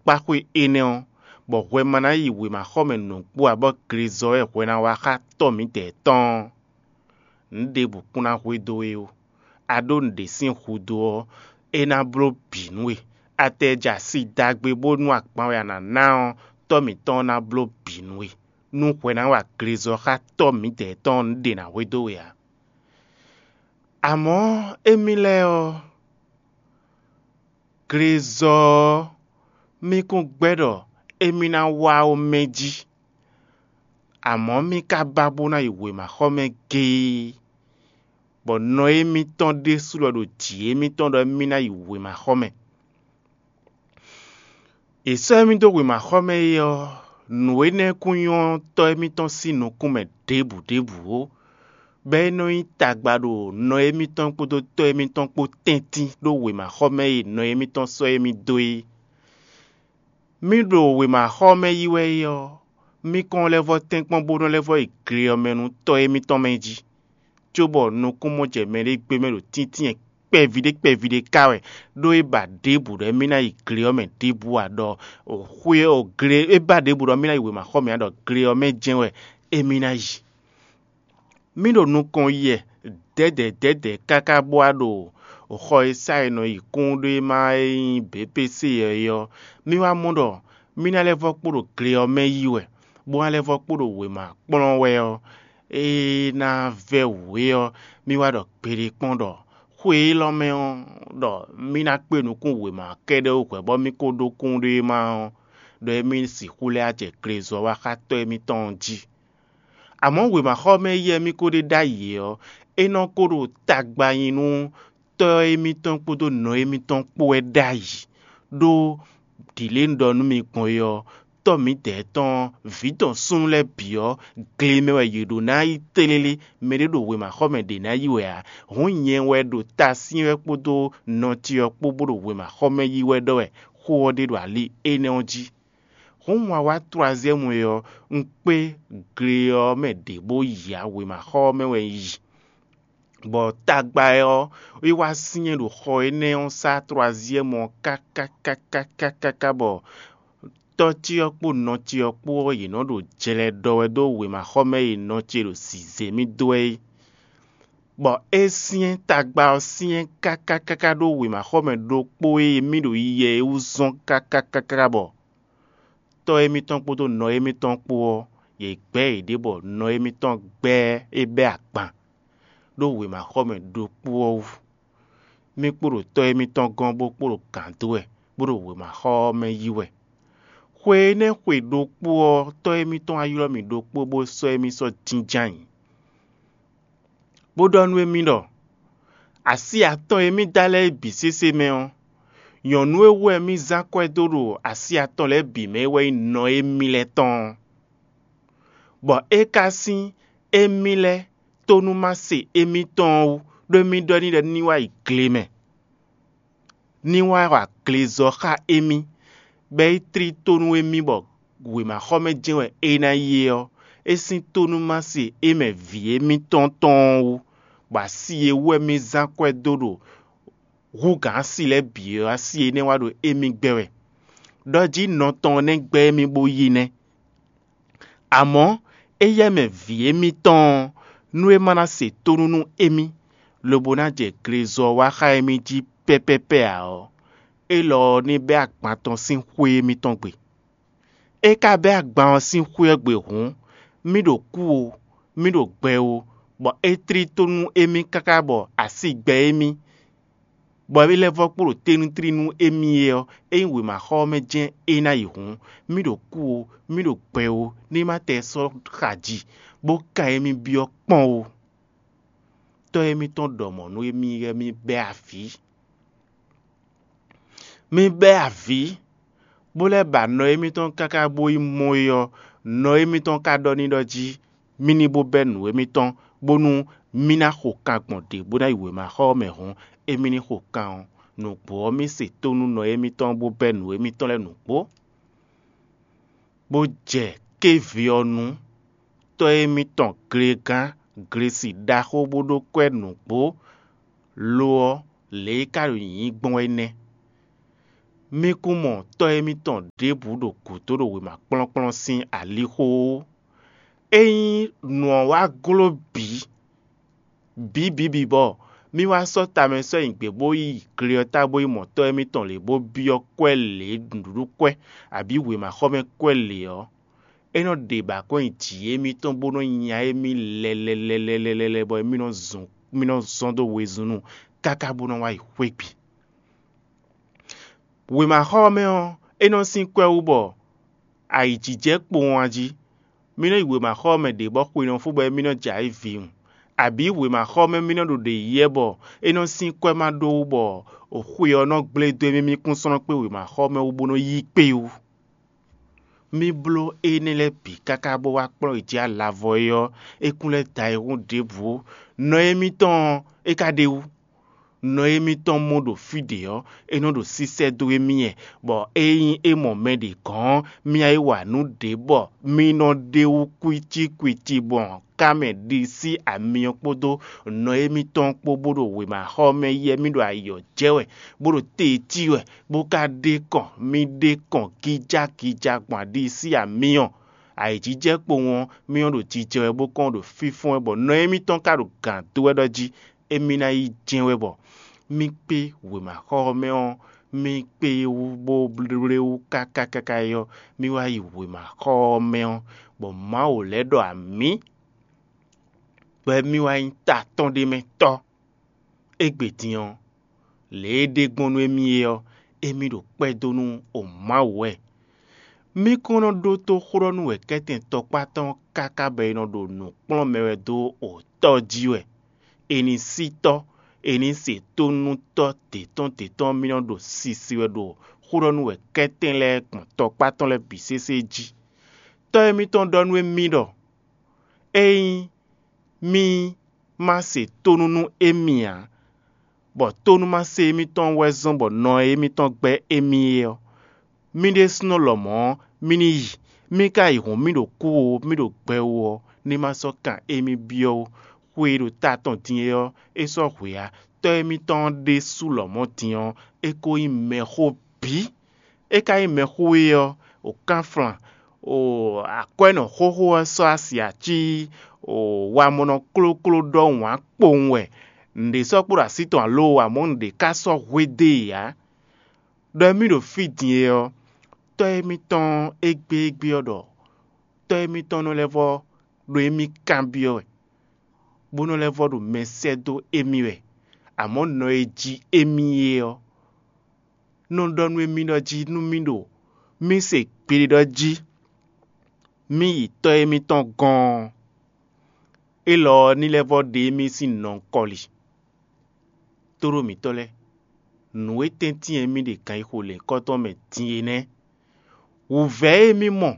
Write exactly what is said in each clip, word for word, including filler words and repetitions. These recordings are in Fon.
kpáxwé énɛ́ ɔ́, bɔ hwɛ ma ná yi wěmaxɔmɛ nǔgbó ǎ, bɔ glezɔ́ wɛ hwɛ ná wá xá tɔ́ mǐdɛɛ tɔn ɔ́, nǔ ɖěbǔ kún ná hwedó we ó. A ɖó nǔɖé sín hudó ɔ́, é ná bló bǐ nú we. A tɛ jɛ asi dagbe bónú agban wɛ a nǎ ná ɔ́, tɔ́ mǐtɔn ɔ́ ná bló bǐ nú we, nú hwɛ ná wa glezɔ́ xá tɔ́ mǐdɛɛ tɔn ɔ́, nǔɖé ná hwedó we ǎ. Amɔ̌ émí lɛ́ɛ ɔ́, glezɔ́ ɔ́, mí kún gbɛ́ ɖɔ émí ná wá ó mɛ jí. Amɔ̌ mí ka ba bó ná yi wěmaxɔmɛ géé, bɔ nɔ émítɔn ɖésú lɔ ɖo jǐ émítɔn ɖɔ émí ná yi wěmaxɔmɛ. È sɔ́ émí dó wěmaxɔmɛ é ɔ́, nǔ énɛ́ kún nyɔ́ tɔ́ émítɔn sín nukúnmɛ ɖěbǔ ɖěbǔ ó, bɔ é nɔ nyí tagba ɖo nɔ émítɔn kpódó tɔ́ émítɔn kpó tɛ́ntin ɖó wěmaxɔmɛ e nɔ émítɔn sɔ́ émí dó é. Mí ɖo wěmaxɔmɛ yi wɛ é ɔ́, mí kɔn lɛ́ vɔ́ tɛ́nkpɔ́n bó nɔ́ lɛ́ vɔ́ yi gle ɔ́ mɛ nú tɔ́ émítɔn mɛ jí, cóbɔ nukúnmɔjɛmɛ ɖé gbé mɛ ɖo tíntín kpɛví ɖé kpɛví ɖé ká wɛ, ɖó é ba ɖěbǔ ɖɔ émí ná yi gle ɔ́ mɛ ɖěbǔ ǎ, ɖɔ xwé ɔ́ gle é ba ɖěbǔ ɖɔ émí ná yi wěmaxɔmɛ ǎ, ɖɔ gle ɔ́ mɛ jɛ́n wɛ émí ná yi. Mí ɖo nukɔn yi wɛ dɛ̌dɛ̌ dɛ̌dɛ̌ káká bó wá ɖo xɔ e sá è nɔ yi kúnɖéma e nyí B P C ɔ́ é ɔ́, mí wá mɔ ɖɔ mí ná lɛ́ vɔ́ kpo ɖo gle ɔ́ mɛ yi wɛ, bó ná lɛ́ vɔ́ kpo ɖo wěma kplɔ́n wɛ ɔ́, é ná vɛ́ wǔ é ɔ́, mí wá ɖɔ gbeɖé kpɔ́n ɖɔ xwe élɔ́ mɛ ɔ́, ɖɔ mí ná kpé nukún wěma kɛ́ɖɛ́ wú hwɛ̌ bɔ mí ko ɖó kúnɖéma ɔ́, ɖɔ émí sixú lɛ́ wá jɛ glezɔ́ wá xá tɔ́ émítɔn ɔ́ jí. Amɔ̌ wěmaxɔmɛ yi wɛ mí ko ɖe ɖ'ayǐ é ɔ́, é nɔ ko ɖo tagba nyi nú tɔ́ émítɔn kpódó nɔ émítɔn kpó wɛ ɖ'ayǐ, ɖó ɖǐ lě un ɖɔ nú mi gbɔn é ɔ́, tɔ́ mǐdɛɛ tɔn ɔ́, vǐ tɔn súnnu lɛ́ɛ bǐ ɔ́, gle mɛ wɛ yě ɖó ná yi tlélé; mɛɖé ɖo wěmaxɔmɛ ɖě ná yi wɛ ǎ. Hǔn nyɛ wɛ ɖo tasyɛ́n wɛ kpódó nɔ ce ɔ́ kpó bó ɖo wěmaxɔmɛ yi wɛ ɖɔ wɛ xó ɔ́ ɖe ɖo ali énɛ́ ɔ́ jí. Hǔn un wá wá Tlɔaziyɛ́mu é ɔ́, un kpé gle ɔ́ mɛ ɖě bó yi ǎ; wěmaxɔ ɔ́ mɛ wɛ un yi. Bɔ tagba ɔ́, é wá syɛ́n ɖo xɔ énɛ́ ɔ́ sá Tlɔaziyɛ́mu ɔ́ káká káká káká bɔ tɔ́ ce ɔ́ kpó nɔ ce ɔ́ kpó ɔ́, yě nɔ ɖo jlɛ ɖɔ wɛ dó wěmaxɔmɛ e nɔ ce ɖo zǐzé mì dó wɛ é. Bɔ é syɛ́n tagba ɔ́ syɛ́n káká káká ɖó wěmaxɔmɛ ɖokpó e mì ɖo yiyɛ é wú zɔ́n káká káká bɔ tɔ́ émítɔn kpódó nɔ émítɔn kpó ɔ́, yě gbɛ́ yěɖée bɔ nɔ émítɔn gbɛ́ é bɛ́ agban ɖó wěmaxɔmɛ ɖokpó ɔ́ wú. Mì kpo ɖo tɔ́ émítɔn gɔ́n bó kpo ɖo gǎn dó wɛ, bó ɖo wěmaxɔ ɔ́ mɛ yí wɛ. Xwe énɛ́ xwe ɖokpó ɔ́, tɔ́ émítɔn wá ylɔ́ mì ɖokpó bó sɔ́ émí sɔ́ jínjɔ́n ayǐ, bó ɖɔ nú émí ɖɔ: Asi atɔn e mì da lɛ́ɛ bǐ sésé mɛ ɔ́, nyɔ̌nu e wú wɛ mì zán akwɛ́ dó ɖo asi atɔn lɛ́ɛ bǐ mɛ é wɛ nyí nɔ émí lɛ́ɛ tɔn ɔ́. Bɔ é ka sín émí lɛ́ɛ tónúmase émítɔn ɔ́ wú, ɖó émí ɖɔ n'i ɖɔ ní wá yi gle mɛ, ní wá wa glezɔ́ xá émí, bɔ é tlí tó nú émí bɔ wěmaxɔmɛ jɛ́n wɛ é ná yi é ɔ́, é sín tónúmase é mɛ vǐ émítɔn tɔn ɔ́ wú, bɔ asi e wú wɛ mì zán akwɛ́ dó ɖo hú gǎn asi lɛ́ɛ bǐ ɔ́, asi énɛ́ wá ɖo émí gbɛ́ wɛ. Ɖɔ jí nɔ tɔn ɔ́ nɛ́ gbɛ́ émí bó yi nɛ́. Amɔ̌, éyɛ́ mɛ vǐ émítɔn ɔ́, nú é ma ná se tónú nú émí, lobo ná jɛ glezɔ wá xá émí jí pɛ́pɛ́pɛ́ ǎ ɔ́, élɔ́ ɔ́ ní bɛ́ agban tɔn sín xwé émítɔn gbe. É ka bɛ́ agban ɔ́ sín xwé ɔ́ gbe hǔn, mì ɖo kú o, mì ɖo gbɛ o, bɔ é tlí tó nú émí káká bɔ asi gbɛ émí, bɔ é lɛ́ vɔ́ kpo ɖo tɛ́nútlí nú émí é ɔ́, ényí wěmaxɔ ɔ́ mɛ jɛ́n é ná yi hǔn, mì ɖo kú o, mì ɖo gbɛ o, ní ma tɛ sɔ́ xa ji, bó kan émí byɔ́ kpɔ́n o. Tɔ́ émítɔn ɖɔ mɔ̌ nú émí wɛ mì bɛ́ avǐ. Mì bɛ́ avǐ, bó lɛ́ ba nɔ émítɔn káká bó yi mɔ é ɔ́, nɔ émítɔn ka ɖɔ n'i ɖɔ jí mì ní bó bɛ́ nǔ émítɔn, bónú mì ná xo kan gbɔn ɖě bó ná yi wěmaxɔ ɔ́ mɛ hǔn, émí ní xo kan ɔ́, nǔgbó ɔ́, mì se tónú nɔ émítɔn bó bɛ́ nǔ émítɔn lɛ́ɛ nǔgbó, bó jɛ kéví ɔ́ nu. Tɔ́ émítɔn glegán glesi ɖaxó bó ɖó kwɛ́ nǔgbó, lo ɔ́, lě e é ka ɖo nyǐnyí gbɔn é nɛ́. Mí kún mɔ tɔ́ émítɔn ɖěbǔ ɖo gǔdo ɖo wěma kplɔ́nkplɔ́n sín alixo ó. Ényí nǔ ɔ́ wá gló bǐ, bǐ bǐ bǐ bɔ mí wá sɔ́ tamɛ sɔ́ nyi gbě bó yi gle ɔ́ ta bó yi mɔ tɔ́ émítɔn lě bó byɔ́ kwɛ́ lě nǔɖuɖu kwɛ́, abǐ wěmaxɔmɛ kwɛ́ lě ɔ́, é nɔ ɖe bǎ kɔn nyi jǐ émítɔn bó nɔ́ nya émí lɛlɛlɛlɛlɛ bɔ émí nɔ zɔn mí nɔ zɔn dó wezun nu káká bó nɔ́ wá yi xwé gbe. Wěmaxɔ ɔ́ mɛ ɔ́, é nɔ sín kwɛ́ wú bɔ ayǐjijɛ kpowun a jí. Mí nɔ́ yi wěmaxɔ ɔ́ mɛ ɖě bɔ xwe nɔ fó bɔ émí nɔ́ jɛ ayǐ vǐwun, abǐ wěmaxɔ ɔ́ mɛ mí nɔ́ ɖo ɖě yíyɛ́ bɔ é nɔ sín kwɛ́ ma ɖó wú bɔ xwe ɔ́ nɔ gblé dó émí mí kún sɔ́ nɔ kpé wěmaxɔ ɔ́ mɛ wú bó nɔ́ yí kpé wú. Mí bló énɛ́ lɛ́ɛ bǐ káká bó wá kplɔ́n yi jí alavɔ é ɔ́, é kún lɛ́ da ayihún ɖěbǔ. Nɔ émítɔn ɔ́, é ka ɖ'é wú. Nɔ émítɔn mɔ ɖo fí ɖě ɔ́, é nɔ ɖo sísɛ́ dó émí wɛ, bɔ ényí é mɔ mɛ ɖě gɔ́n ɔ́, mí ná yi wa nǔ ɖě bɔ mí nɔ ɖ'é wú kwítíkwítí gbɔn ká mɛ ɖisí amyɔ kpódó nɔ émítɔn kpó bó ɖo wěmaxɔ mɛ yi wɛ mí ɖo ayǐ ɔ́ jɛ wɛ, bó ɖo tejí wɛ, bó ka ɖe kɔn mì ɖe kɔn gíjágíjá gbɔn aɖi sín amyɔ. Ayǐjijɛ kpowun ɔ́, mì nɔ ɖo jijɛ wɛ bó kɔn ɖo fínfɔ́n wɛ bɔ nɔ émítɔn ka ɖo gǎn dó wɛ ɖɔ jí émí ná yi jɛ́n wɛ bɔ mì kpé wěmaxɔ ɔ́ mɛ ɔ́, mì kpé wú bó blé wú káká káká é ɔ́, mì wá yi wěmaxɔ ɔ́ mɛ ɔ́, bɔ Mawu lɛ́ ɖɔ amǐ, bɔ émí wá nyí ta tɔn ɖé mɛ tɔ́. Égbé din ɔ́, lě e é ɖe gbɔn nú émí é ɔ́, émí ɖo kpɛ́ dó nú Mawu wɛ. Mí kɔn nɔ ɖótó xó ɖɔ nú wɛ̌kɛ́tɛn tɔkpá tɔn káká bɔ è nɔ ɖo nǔ kplɔ́n mɛ wɛ dó Tɔ́ jí wɛ. È nǐ sí Tɔ́, è nǐ se tónú Tɔ́ dě tɔn dě tɔn mì nɔ ɖo sisi wɛ ɖo xó ɖɔ nú wɛ̌kɛ́tɛn lɛ́ɛ gbɔn tɔkpá tɔn lɛ́ɛ bǐ sésé jí. Tɔ́ émítɔn ɖɔ nú émí ɖɔ: Ényí mì ma se tónú nú émí ǎ, bɔ tónúmase émítɔn wɛ zɔ́n bɔ nɔ e émítɔn gbɛ́ émí é ɔ́, mì ɖésúnɔ lɔmɔ̌ mì ní yi; mì ka yi hǔn mì ɖo kú ó, mì ɖo gbɛ ó ɔ́, ní ma sɔ́ kan émí byɔ́ ó. Xwe e ɖo ta tɔn din é ɔ́, é sɔ́ hwe ǎ. Tɔ́ émítɔn ɔ́ ɖésú lɔmɔ̌ din ɔ́, é ko nyí mɛxó bǐ. É ka nyí mɛxó e ɔ́, o kánflan, o akwɛ́nɔ xóxó ɔ́ sɔ́ asi ací, o wamɔnɔ klókló ɖɔhun ǎ kpowun wɛ. Nǔɖé sɔ́ kpo ɖo así tɔn alo amɔ̌ nǔɖé ka sɔ́ hwedó e ǎ. Ɖɔ émí ɖo fí din é ɔ́, tɔ́ émítɔn égbé égbé ɔ́ ɖɔ tɔ́ émítɔn nɔ lɛ́ vɔ́ ɖo émí kanbyɔ́ wɛ, bó nɔ lɛ́ vɔ́ ɖo mɛ sɛ́ dó émí wɛ. Amɔ̌ nɔ e jí émí é ɔ́, nɔ ɖɔ nú émí ɖɔ jí nú mì ɖo mì se gbeɖé ɖɔ jí mì yi tɔ́ émítɔn gɔ́n ɔ́, élɔ́ ɔ́ ní lɛ́ vɔ́ ɖe émí sín nɔ kɔli. Tóɖó mǐtɔn lɛ́ɛ, nǔ e tɛ́ntin e mì ɖe ganyixo lěkɔ́tɔn mɛ din é nɛ́. Wǔvɛ́ e mì mɔ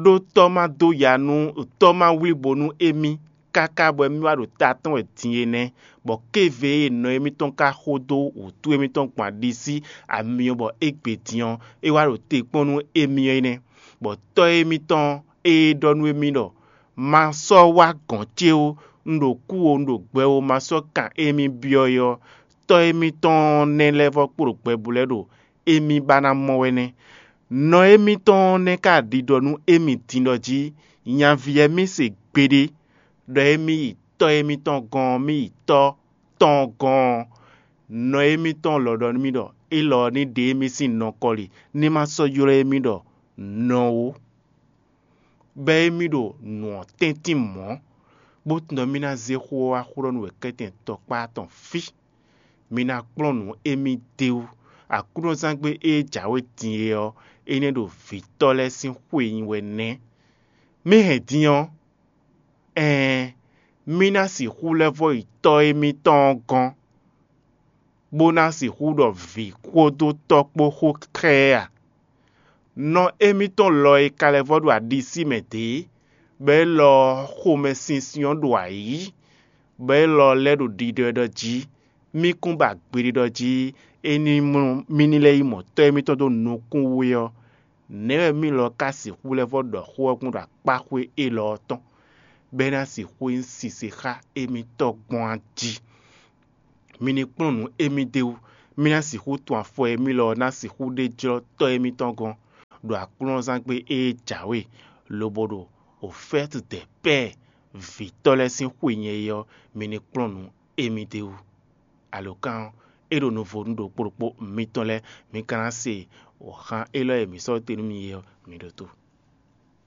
ɖó tɔ́ ma dó ya nú tɔ́ ma wlíbo nú émí káká bɔ émí wá ɖo ta tɔn wɛ din é nɛ́, bɔ kéve e nɔ émítɔn ka xo dó wǔtu émítɔn gbɔn aɖisí amyɔ bɔ égbé din ɔ́, é wá ɖo te kpɔ́n nú émí ɔ́ é nɛ́. Bɔ tɔ́ émítɔn e ɖɔ nú émí ɖɔ: Ma sɔ́ wá gɔ̌n ce ó, un ɖo kú ó, un ɖo gbɛ ó, ma sɔ́ kan émí byɔ́ é ɔ́, tɔ́ émítɔn nɛ́ lɛ́ vɔ́ kpo ɖo gbɛ bú lɛ́ ɖo émí ba ná mɔ wɛ nɛ́. Nɔ émítɔn nɛ́ ka ɖiɖɔ nú émí din ɖɔ jí: Nyaví ɔ́ mì se gbeɖé, ɖɔ émí yi tɔ́ émítɔn gɔ́n ɔ́, mì yi tɔ́ tɔn gɔ́n ɔ́, nɔ émítɔn lɔ ɖɔ nú mì ɖɔ élɔ́ ní ɖe émí sín nɔ kɔli, ní ma sɔ́ ylɔ́ émí ɖɔ nɔ ó. Bɔ émí ɖo nǔ ɔ́ tɛ́ntin mɔ̌, bó tunwun ɖɔ mì ná zé xó ɔ́ wá xó ɖɔ nú wɛ̌kɛ́tɛn tɔkpá tɔn fí. Mi ná kplɔ́n nǔ émí d'é wú. Aklúnɔzángbe e jǎwe din é ɔ́, é nɛ́ ɖo vǐtɔ́ lɛ́ɛ sín xwe nyi wɛ nɛ́. Mì hɛn din ɔ́, ɛɛn, mì ná sixú lɛ́ vɔ́ yi tɔ́ émítɔn ɔ́ gɔ́n, bó ná sixú ɖɔ vǐ kpódó tɔ́ kpó xó xá ɛ a? Nɔ émítɔn lɔ e ka lɛ́ vɔ́ ɖo aɖisí mɛ dě, bɔ élɔ́ ɔ́ xomɛsinsin ɔ́ ɖo ayǐ, bɔ élɔ́ ɔ́ lɛ́ ɖo ɖiɖɔ ɛ ɖɔ jí: Mì kún ba gbeɖé ɖɔ jí é ní mlú mì ní lɛ́ yi mɔ tɔ́ émítɔn dó nukún wú é ɔ́, nɛ̌ wɛ mì lɔ ka sixú lɛ́ vɔ́ ɖɔ xó ɔ́ gbɔn ɖo akpáxwé élɔ́ ɔ́ tɔn, bɔ é ná sixú nyí sise xá émítɔn gbɔn a jí? Mi ní kplɔ́n nǔ émí d'é wú, Mì ná sixú tun afɔ e mì lɔ ná sixú ɖe jlɔ́ tɔ́ émítɔn gɔ́n ɖo aklúnɔzángbe e jǎwe, lobo ɖo ofɛ́tu dɛ pɛ́ɛ vǐtɔ́ lɛ́ɛ sín xwe nyɛ é ɔ́, mi ní kplɔ́n nǔ émí d'é wú. Alǒkan ɔ́, é ɖo nuvo nú ɖokpó ɖokpó mitɔn lɛ́ɛ, mi ka ná se wɔ̌xán élɔ́ e mǐ sɔ́ te nú mi é ɔ́, mi ɖótó.